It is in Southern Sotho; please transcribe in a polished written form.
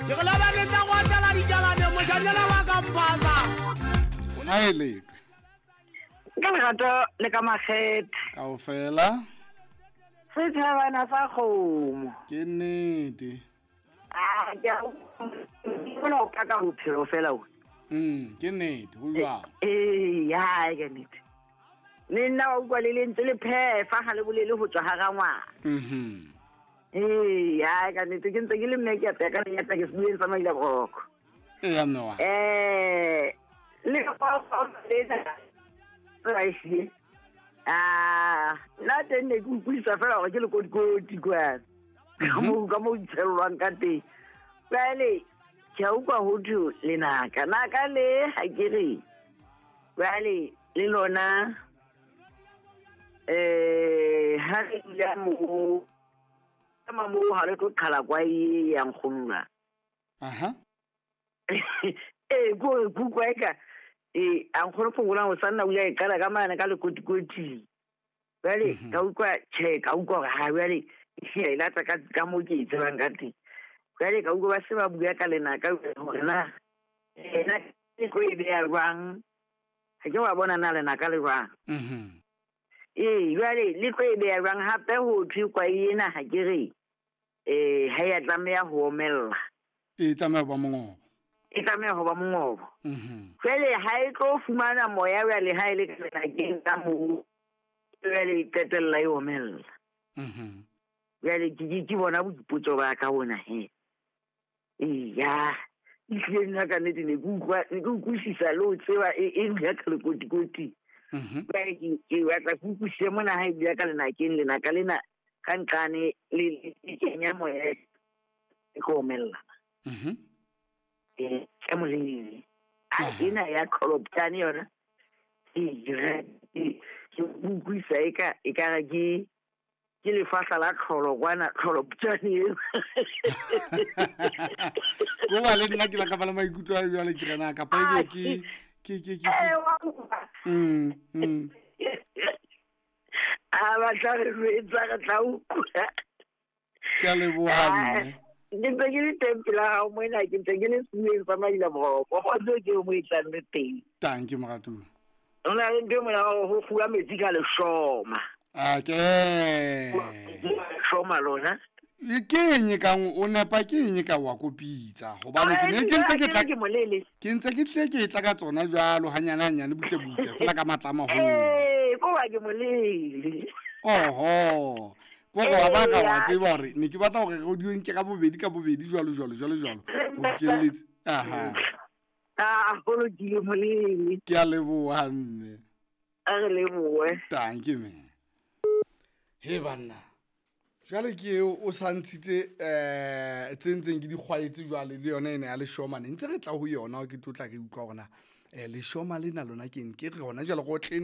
Ke re laba le tla kwatela dikalane moshanyana wa ka mpasa. Ha e letwe. Ka lerato le ka makgethe. Kaofela. Sethabana sa kgomo. Ke nnete. Ah, ke a bona o paka bophelo fela o. Ke nnete, ho jwang? Ee, ya ke nnete. Le nna wa utlwa le lentswe le phefa ga le bolele ho tswa ga rangwana. Ee, ya ka nnete ke ntse ke le mme ke apeya ka lenyatsa ke sebueng sa maila boroko. Ee, mme wa. Le fa lena tsela e hlile. Ah, nna teng ne ke utlwisisa fela hore ke lekotikoti kwana. Ka moo itshellwang ka teng. Jwale ke a utlwa ho thwe lenaka. Naka le ha ke re. Jwale le lona ha re dula moo ema moo ha re tlo qhala kwa e yang kgonwa. Aha. Ee, ko re kutlwa eka ee a nkgono phokolang o sanna o ile a e qala ka mane ka lekotikoting. Jwale ka utlwa tjhe, ka utlwa hore ha jwale e lata ka moo ke e tsebang ka teng. Jwale ka utlwa ba se ba bua ka lenaka hore na ena e tlo e beha jwang. Ha ke wa bona na lenaka le jwang. Ee, jwale le tlo e beha jwang hape ho thwe kwai ena ha ke re ha ya tlameha ho omella. E tlameha ho ba mongobo. E tlameha ho ba mongobo. Jwale ha e tlo fumana moya jwale ha e le ka lenakeng ka moo, jwale e qetella e omella. Jwale ke bona boipotso ba ka bona he. Eya, ehlile nna ka nnete ne ke utlwa, ne ke utlwisisa le ho tseba e dula ka lekotikoti. Jwale ke batla ke utlwisise mona ha e dula ka lenakeng, lenaka lena ka nqane le kenya moya e tlo omella. Ke molele. A ena ya qholoptane yona. Ke utlwisisa e ka re ke lefahla la tlholo kwana, tlholoptane eo. Ko ba le nna ke la ka ba le maikutlo a jwale ke rena kapa ebe ke. Wa utlwa. A ba tla re jwetsa, re tla utlwa. Ke a leboha, mme. Ke ntse ke le teng pela hao mona, ke ntse ke le sebueng sa Maila Boroko. Kgotso ke mo e tlang le teng. Thank you, moratuwa. Ho na le ntho e mona ho kguwa metsi ka leshoma. A ke. Leshoma lona. E ke eng e kang o nepa ke eng e ka wa kopitsa? Hobane ke ne ke ntse ke tla Ke molele. Ke ntse ke tle ke tla ka tsona jwalo hanyane hanyane butse butse fela ka matla a maholo. Ee, ko wa ke molele. Oho. Ko go wa ba ka wa tseba hore ne ke batla hore re di nke ka bobedi ka bobedi jwalo jwalo jwalo jwalo. Ho fihlelletse. Aha. Ah, ho lokile molele. Ke a leboha mme. A re lebohe. Thank you, mme. He banna. Jwale ke eo o sa ntshitse tse ntseng ke di kgwaetse jwale le yona ena ya leshoma ne ntse re tla ho yona ke tlo tla re utlwa hore na leshoma lena lona ke eng? Ke re hona jwale go tle